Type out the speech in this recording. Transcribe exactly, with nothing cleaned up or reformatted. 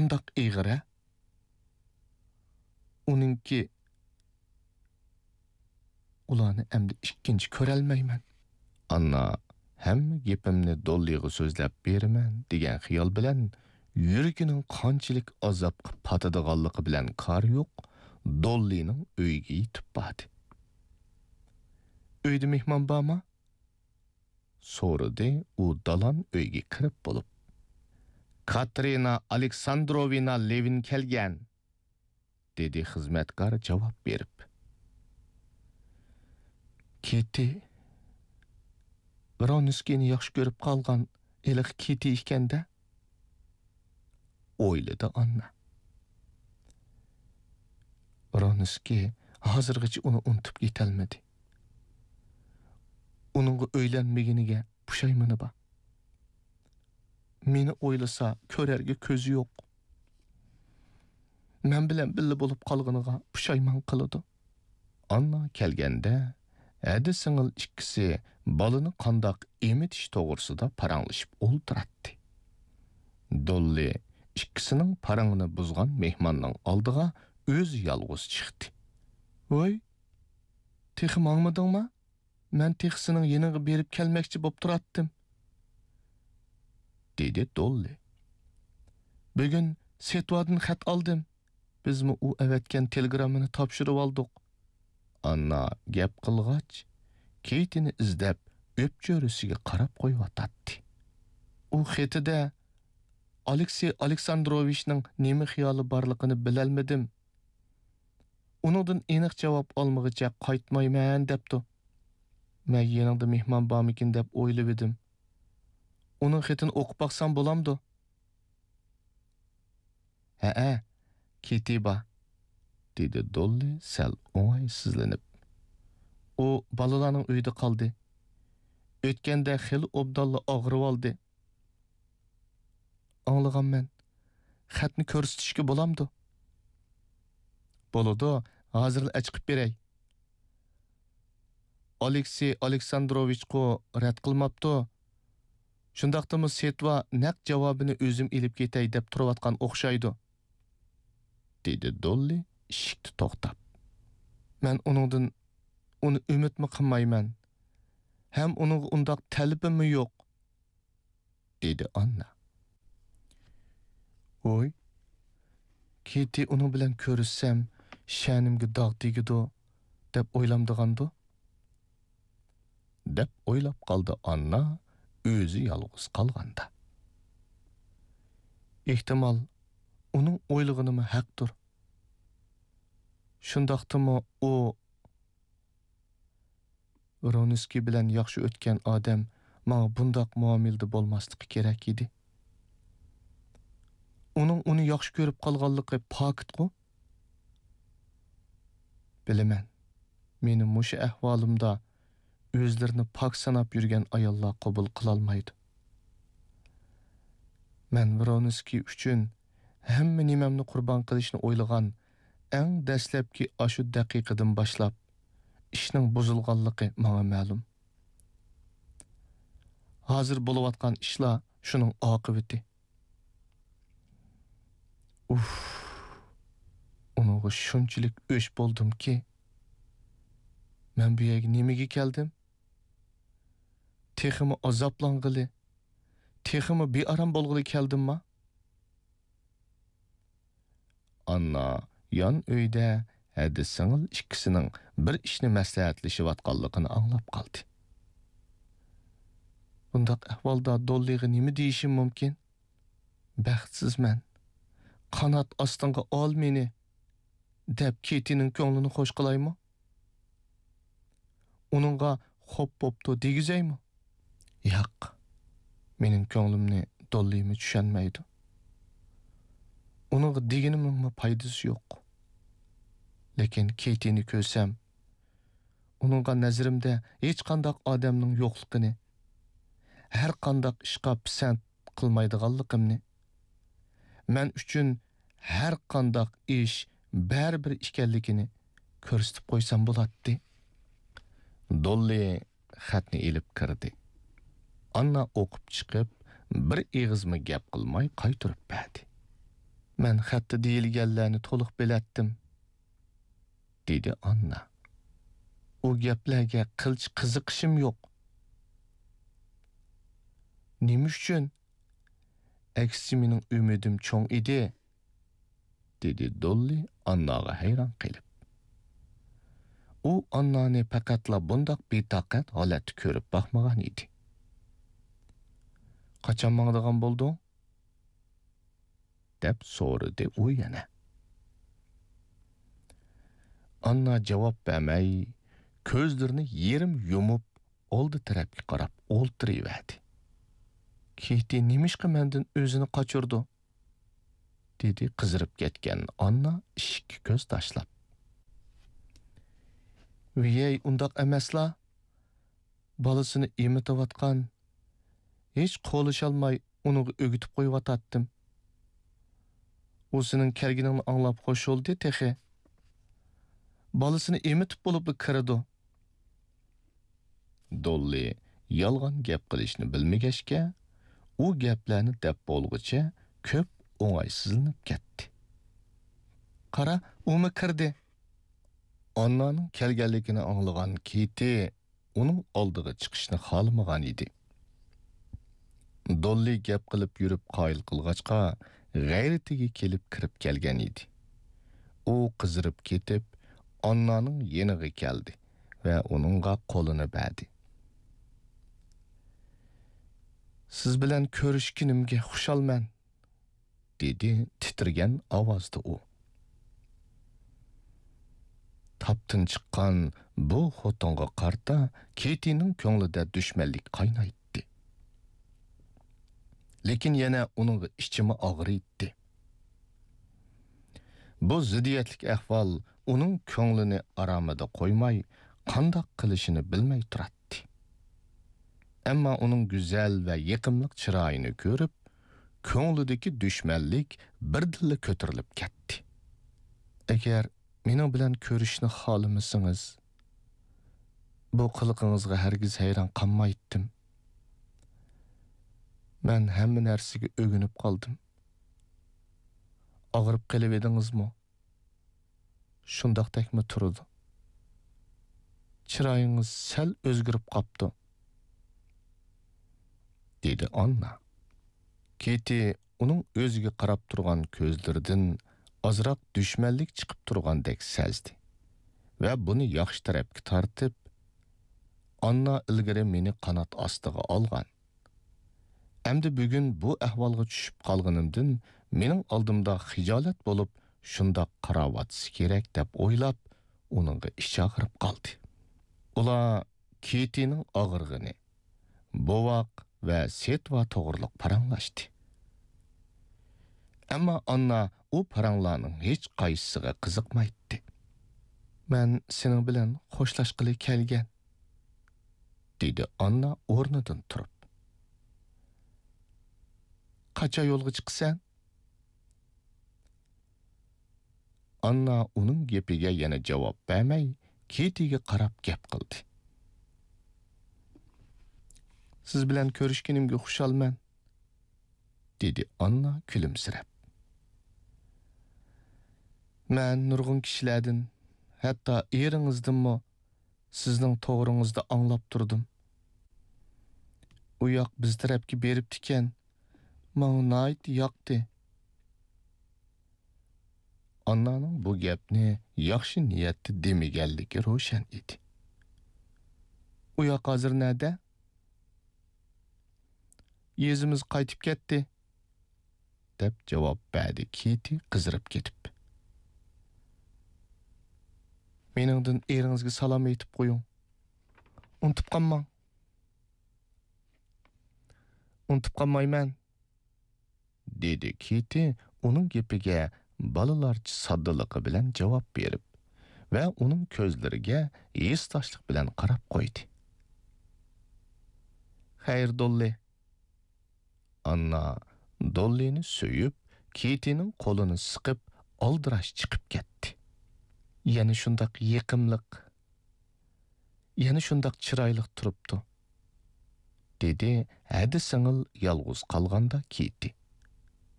قانداق ئېغىر-ھە؟ ئۇنىڭكى، ئۇلارنى ئەمدى ئىككىنچى كۆرەلمەيمەن. ئاننا ھەممە گېپىمنى دوللىغا سۆزلەپ بېرىمەن دېگەن خىيال بىلەن يۈرىكىنىڭ قانچىلىك ئازابقا پاتىدىغانلىقى بىلەن كارى يوق، دوللىنىڭ ئۆيىگە يېتىپ باردى. ئۆيدە مېھمان بارمۇ؟ سورىدى ئۇ دالان ئۆيگە كىرىپ بولۇپ. كاترىنا ئالېكساندروۋنا لېۋىن كەلگەن، دېدى خىزمەتكار جاۋاب بېرىپ. كېتى، ۋرونسكىينى ياخشى كۆرۈپ قالغان ھېلىقى كېتى ئىكەن-دە، ئويلىدى ئاننا. ۋرونسكىي ھازىرغىچە ئۇنى ئۇنتۇپ يېتەلمىدى. ئۇنىڭغا ئۆيلەنمىگىنىگە پۇشايمىنى بار. مېنى ئويلىسا كۆرەرگە كۆزى يوق. مەن بىلەن بىللە بولۇپ قالغىنىغا پۇشايمان قىلىدۇ. ئاننا كەلگەندە، ھەدە سىڭىل ئىككىسى بالىنى قانداق ئېمىتىش توغرىسىدا پاراڭلىشىپ ئولتۇراتتى. دوللى ئىككىسىنىڭ پاراڭىنى بۇزغان مېھماننىڭ ئالدىغا ئۆزى يالغۇز چىقتى. ۋوي، تېخى ماڭمىدىڭما؟ مەن تېخى سېنىڭ يېنىڭغا بېرىپ كەلمەكچى بوپ تۇراتتىم، دېدى دوللى. بۈگۈن سېتۋادىن خەت ئالدىم. بىزمۇ ئۇ ئەۋەتكەن تېلېگراممىنى تاپشۇرۇۋالدۇق. ئاننا گەپ قىلغاچ، كېيتىنى ئىزدەپ، ئۆپچۆرىسىگە قاراپ قويۇۋاتاتتى. ئۇ خېتىدە ئالېكسېي ئالېكساندروۋىچنىڭ نېمە خىيالى بارلىقىنى بىلەلمىدىم. ئۇنىڭدىن ئېنىق جاۋاب ئالمىغىچە قايتمايمەن دەپتۇ. مەن يېنىڭدا مېھمان بارمىكىن دەپ ئويلىۋىدىم. ئۇنىڭ خېتىنى ئوقۇپ باقسام بولامدۇ؟ ھەئە، كېتى بار، دېدى دوللى سەل ئوڭايسىزلىنىپ. ئۇ بالىلارنىڭ ئۆيىدە قالدى. ئۆتكەندە خېلى ئوبدانلا ئاغرىۋالدى. ئاڭلىغانمەن. خەتنى كۆرسىتىشكە بولامدۇ؟ بولىدۇ، ھازىرلا ئەچىقىپ بېرەي. ئالېكسېي ئالېكساندروۋىچقۇ رەت قىلماپتۇ. شۇنداقتىمۇ سېتۋا نەق جاۋابىنى ئۆزۈم ئېلىپ كېتەي دەپ تۇرۇۋاتقان ئوخشايدۇ، دېدى دوللى ئىشىكتە توختاپ. مەن ئۇنىڭدىن، ئۇنى ئۈمىدمۇ قىلمايمەن. ھەم ئۇنىڭغا ئۇنداق تەلىپىممۇ يوق، دېدى ئاننا. ۋوي، كېتى ئۇنىڭ بىلەن كۆرۈشسەم، شەنىمگە داغ تېگىدۇ، دەپ ئويلامدىغاندۇ؟ دەپ ئويلاپ قالدى ئاننا ئۆزى يالغۇز قالغاندا. ئېھتىمال، ئۇنىڭ ئويلىغىنىمۇ ھەقتۇر. شۇنداقتىمۇ ئۇ ۋرونسكىي بىلەن ياخشى ئۆتكەن ئادەم ماڭا بۇنداق مۇئامىلىدە بولماسلىقى كېرەك ئىدى. ئۇنىڭ ئۇنى ياخشى كۆرۈپ قالغانلىقى پاكىتقۇ؟ بىلىمەن، مېنى مۇشۇ ئەھۋالىمدا ئۆزلىرىنى پاك ساناپ يۈرگەن ئاياللار قوبۇل قىلالمايدۇ. مەن ۋرونسكىي ئۈچۈن ھەممە نېمەمنى قۇربان قىلىشنى ئويلىغان ئەڭ دەسلەپكى ئاشۇ دەقىقىدىن باشلاپ، ئىشنىڭ بۇزۇلغانلىقى ماڭا مەلۇم. ھازىر بولۇۋاتقان ئىشلار شۇنىڭ ئاقىۋىتى. ئۇف، ئۇنىڭغا شۇنچىلىك ئۆچ بولدۇمكى، مەن بۇ يەرگە نېمىگە كەلدىم؟ تېخىمۇ ئازابلانغىلى، تېخىمۇ بىئارام بولغىلى كەلدىمما؟ ئاننا يان ئۆيدە ھەدە سىڭىل ئىككىسىنىڭ بىر ئىشنى مەسلىھەتلىشىۋاتقانلىقىنى ئاڭلاپ قالدى. بۇنداق ئەھۋالدا دوللىغا نېمە دېيىشىم مۇمكىن؟ بەختسىزمەن، قانات ئاستىڭغا ئال مېنى، دەپ كېتىنىڭ كۆڭلىنى خوش قىلايمۇ؟ ئۇنىڭغا خوپ بوپتۇ دېگۈزەيمۇ؟ ياق، مېنىڭ كۆڭلۈمنى دوللىمۇ چۈشەنمەيدۇ. ئۇنىڭغا دېگىنىمنىڭمۇ پايدىسى يوق. لېكىن كېتىنى كۆرسەم، ئۇنىڭغا نەزىرىمدە ھېچقانداق ئادەمنىڭ يوقلۇقىنى، ھەر قانداق ئىشقا پىسەنت قىلمايدىغانلىقىمنى، مەن ئۈچۈن ھەر قانداق ئىش بەرىبىر ئىكەنلىكىنى كۆرسىتىپ قويسام بولاتتى. دوللى خەتنى ئېلىپ كىردى. ئاننا ئوقۇپ چىقىپ، بىر ئېغىزمۇ گەپ قىلماي قايتۇرۇپ بەردى. مەن خەتتە دېيىلگەنلەرنى تولۇق بىلەتتىم، دېدى ئاننا. ئۇ گەپلەرگە قىلچە قىزىقىشىم يوق. نېمە ئۈچۈن؟ ئەكسىچە مېنىڭ ئۈمىدىم چوڭ ئىدى، دېدى دوللى ئانناغا ھەيران قېلىپ. ئۇ ئاننانى پەقەتلا بۇنداق بىتاقەت ھالەتتە كۆرۈپ باقمىغان ئىدى. قاچان ماڭىدىغان بولدۇڭ؟ دەپ سورىدى ئۇ يەنە. ئاننا جاۋاب بەرمەي، كۆزلىرىنى يېرىم يۇمۇپ، ئالدى تەرەپكە قاراپ ئولتۇرۇۋەردى. كېتى نېمىشقا مەندىن ئۆزىنى قاچۇرىدۇ؟ دېدى قىزىرىپ كەتكەن ئاننا ئىشىككە كۆز تاشلاپ. ۋىيەي، ئۇنداق ئەمەسلا. بالىسىنى ئېمىتىۋاتقان، ھېچ قولىشالماي ئۇنىڭغا ئۆگىتىپ قويۇۋاتاتتىم. ئۇ سېنىڭ كەلگىنىڭنى ئاڭلاپ خوش بولدى تېخى. بالىسىنى ئېمىتىپ بولۇپلا كىرىدۇ. دوللى يالغان گەپ قىلىشنى بىلمىگەچكە، ئۇ گەپلەرنى دەپ بولغۇچە كۆپ ئوڭايسىزلىنىپ كەتتى. قارا، ئۇمۇ كىردى. ئاننانىڭ كەلگەنلىكىنى ئاڭلىغان كېتى ئۇنىڭ ئالدىغا چىقىشنى خالىمىغان ئىدى. دوللى گەپ قىلىپ يۈرۈپ قايىل قىلغاچقا، غەيرىتىگە كېلىپ كىرىپ كەلگەن ئىدى. ئۇ قىزىرىپ كېتىپ، ئاننانىڭ يېنىغا كەلدى ۋە ئۇنىڭغا قولىنى بەردى. سىز بىلەن كۆرۈشكىنىمگە خۇشالمەن، دېدى تىترىگەن ئاۋازدا ئۇ. تاپتىن چىققان بۇ خوتۇنغا قارىتا كېتىنىڭ كۆڭلىدە دۈشمەنلىك قاينايتتى. لېكىن يەنە ئۇنىڭغا ئىچىمۇ ئاغرىيتتى. بۇ زىددىيەتلىك ئەھۋال ئۇنىڭ كۆڭلىنى ئارامىدا قويماي، قانداق قىلىشىنى بىلمەي تۇراتتى. ئەمما ئۇنىڭ گۈزەل ۋە يېقىملىق چىرايىنى كۆرۈپ، كۆڭلىدىكى دۈشمەنلىك بىردىنلا كۆتۈرۈلۈپ كەتتى. ئەگەر مېنىڭ بىلەن كۆرۈشۈشنى خالىمىسىڭىز، بۇ قىلىقىڭىزغا ھەرگىز ھەيران قالمايتتىم. مەن ھەممە نەرسىگە ئۆگىنىپ قالدىم. ئاغرىپ قېلىۋىدىڭىزمۇ؟ شۇنداقتەكمۇ تۇرىدۇ. چىرايىڭىز سەل ئۆزگىرىپ قاپتۇ، دېدى ئاننا. كېتى ئۇنىڭ ئۆزىگە قاراپ تۇرغان كۆزلىرىدىن ئازراق دۈشمەنلىك چىقىپ تۇرغاندەك سەزدى ۋە بۇنى ياخشى تەرەپكە تارتىپ، ئاننا ئىلگىرى مېنى قانات ئاستىغا ئالغان. ئەمدى بۈگۈن بۇ ئەھۋالغا چۈشۈپ قالغىنىمدىن مېنىڭ ئالدىمدا خىجالەت بولۇپ، شۇنداق قاراۋاتسا كېرەك دەپ ئويلاپ، ئۇنىڭغا ئىچى ئاغرىپ قالدى. ئۇلار كېتىنىڭ ئاغرىقىنى، بوۋاق ۋە سېتۋا توغرىلىق پاراڭلاشتى. ئەمما ئاننا ئۇ پاراڭلارنىڭ ھېچ قايسىسىغا قىزىقمايتتى. مەن سېنىڭ بىلەن خوشلاشقىلى كەلگەن، دېدى ئاننا ئورنىدىن تۇرۇپ. قاچان يولغا چىقىسەن؟ ئاننا ئۇنىڭ گېپىگە يەنە جاۋاب بەرمەي، كېتىگە قاراپ گەپ قىلدى. سىز بىلەن كۆرۈشكىنىمگە خۇشالمەن، دېدى ئاننا كۈلۈمسىرەپ. مەن نۇرغۇن كىشىلەردىن، ھەتتا ئېرىڭىزدىنمۇ سىزنىڭ توغرىڭىزدا ئاڭلاپ تۇردۇم. ئۇ ياق بىز تەرەپكە بېرىپتىكەن، ماڭا ناھايىتى ياقتى. ئاننانىڭ بۇ گەپنى ياخشى نىيەتتە دېمىگەنلىكى روشەن ئىدى. ئۇ ياق ھازىر نەدە؟ يېزىمىزغا قايتىپ كەتتى، دەپ جاۋاب بەردى كېتى قىزىرىپ كېتىپ. مېنىڭدىن ئېرىڭىزگە سالام ئېيتىپ قويۇڭ. ئۇنتۇپ قالماڭ. ئۇنتۇپ قالمايمەن، دېدى كېتى ئۇنىڭ گېپىگە بالىلارچە ساددىلىقى بىلەن جاۋاب بېرىپ ۋە ئۇنىڭ كۆزلىرىگە ھېسداشلىق بىلەن قاراپ قويدى. خەير، دوللى. ئاننا دوللىنى سۆيۈپ، كېتىنىڭ قولىنى سىقىپ، ئالدىراش چىقىپ كەتتى. يەنە شۇنداق يېقىملىق، يەنە شۇنداق چىرايلىق تۇرۇپتۇ، دېدى ھەدە سىڭىل يالغۇز قالغاندا كېتى.